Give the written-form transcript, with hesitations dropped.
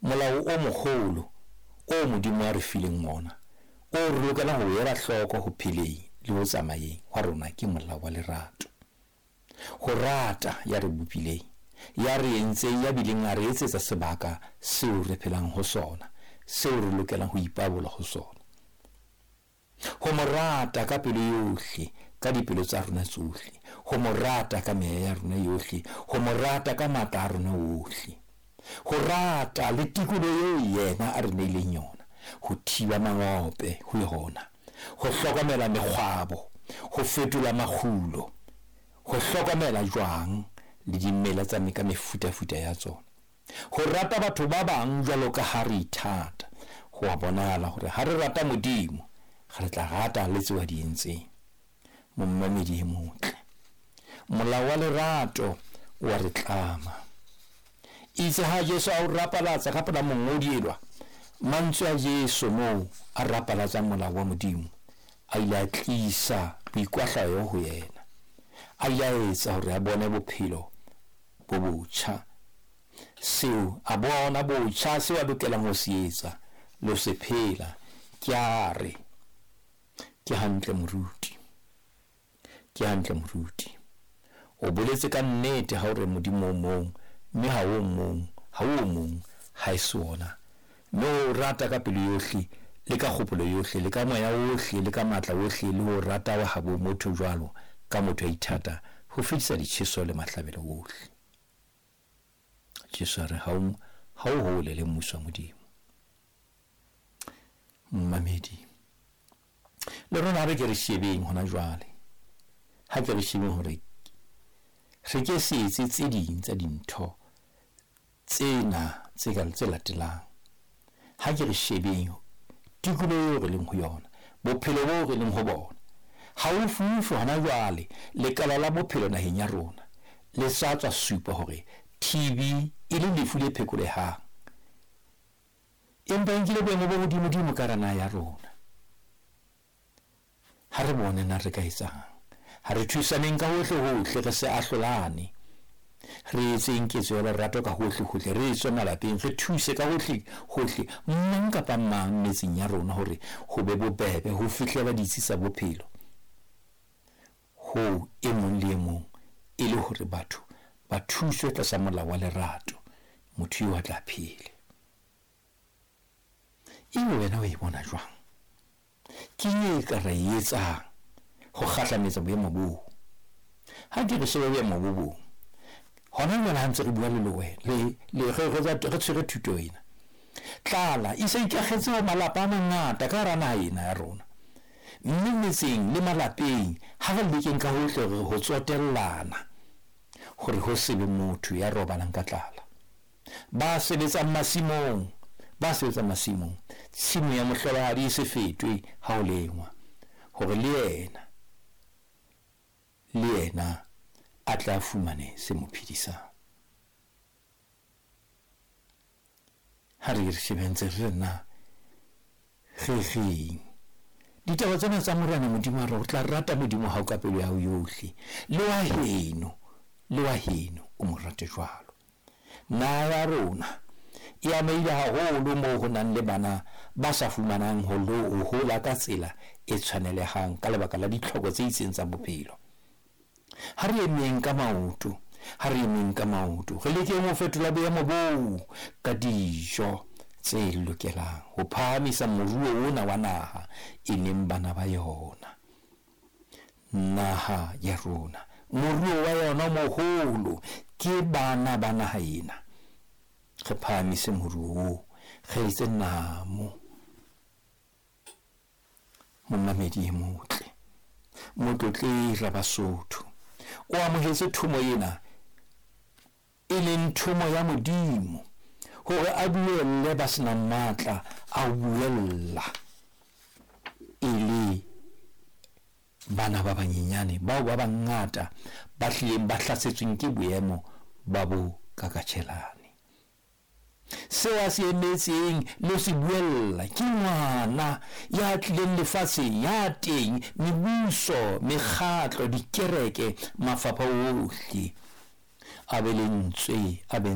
Molao o moholo oo Modimo a re fileng wona, oo re lokelang ho o ela hloko ho pheleng le ho tsamayeng hwa rona ke molao wa lerato. Ho rata ya re bopileng, ya re entseng, ya bileng a re etsetsa sebaka seo re phelang ho sona, seo re lokelang ho ipabola ho sona. Ho mo rata ka pelo yohle, ka dipelo tsa rona tsohle, ho mo rata ka meya ya rona yohle, ho mo rata ka matla a rona ohle, ho rata le tikoloho eo yena a re neileng yona, ho thiba mangope ho yona, ho hlokomela mekgwabo, ho fetola makgulo, ho hlokomela jwang le dimela tsa ka mefutafuta ya tsona, ho rata batho ba bang jwalo ka ha re ithata. Ho a bonahala hore ha re rata Modimo, re tla rata le tseo a di entseng. Momamedi e motle, molao wa lerato o a re tlama. Itse ha Jesu a o rapalatsa ka pela mongodi elwa, mantswe a Jesu moo a rapalatsang molao wa Modimo a ile a tlisa boikwahlayo ho yena. A ile a etsa hore a bone bophelo bo botjha. Seo a bona botjha seo a lokelang ho se etsa le ho se phela. Ke a re, ke hantle moruti, ke hantle moruti. O boletse ka nnete ha o re Modimo o mong, mme ha o mong, ha o mong ha e se ona. Mme o rata ka pelo yohle, le ka kgopolo yohle, le ka moya ohle, le ka matla ohle, le ho rata wa habo motho jwalo ka motho a ithata, ho fedisa ditjheso le mahlabelo ohle. Jesu a re, ha o hole le mmuso wa Modimo. Momamedi, le rona ha re ke re shebeng hona jwale, ha ke re shebeng hore re ke se etse tse ding tsa dintho tsena tse ka tse latelang. Ha ke re shebeng tikoloho eo re leng ho yona, bophelo boo re leng ho bona. Haufiufi hona jwale, lekala la bophelo naheng ya rona le sa tswa supa hore TB e le lefu le phekolehang, empa e nkile boemo bo hodimodimo ka hara naha ya rona. Ha re bone na re ka etsang. Ha re thusaneng ka hohle hohle, re se ahlolane. Re etseng ketso ya lerato ka hohle hohle, re tswe malapeng, re thuse ka hohle hohle mang kapa mang metseng ya rona hore ho be bobebe ho fihlela ditsi tsa bophelo ho e mong le e mong, e le hore batho ba thuswe tlasa molao wa lerato, motho eo a tla phele. Ebe wena o e bona jwang? Ke e ka ra e etsang ho kgahlametsa boemo boo? Ha ke re shebe boemo bo bong, hona jwale ha ntse re bua le le le re tshwere thuto ena, tlala e se ikakgetse ho malapa a mangata ka hara naha ena ya rona. Mme metseng le malapeng ha re lekeng ka hohle hore ho tsotellana, hore ho se be motho ya robalang ka tlala. Ba sebetsang masimong, ba sebetsang masimong, tshimo ya mohlolohadi e se fetwe ha ho lengwa, hore le yena, le yena a tla fumane se mo phedisang. Ha re re shebentse re na re reng ditaba tsena tsa Morena Modimo a re o tla rata Modimo hao ka pelo ya hao yohle, le wa heno, le wa heno o mo rate jwalo. Naha ya rona e amehile haholo moo ho nang le bana ba sa fumanang ho hola ka tsela e tshwanelehang ka lebaka la ditlhoko tse itseng tsa bophelo. Ha re emeng ka maoto, ha re emeng ka maoto, re lekeng ho fetola boemo boo ka dijo tse lokelang ho phahamisa moruo ona wa naha e leng bana ba yona. Naha ya rona, moruo wa yona moholo ke bana ba naha ena. Re phahamise moruo oo, re etse namo. Momamedi e motle, Motlotlegi Rabasotho, o amohetse thomo ena e leng thomo ya Modimo hore a buelle ba senang matla a ho buella, e le bana ba banyenyane bao ba bangata ba hlileng ba hlasetsweng ke boemo ba bo kakatjhelane. Seo a se emetseng le ho se buella ke ngwana ya tlileng lefatsheng, ya teng mebuso, mekgatlo, dikereke, mafapha ohle a be lentswe, a be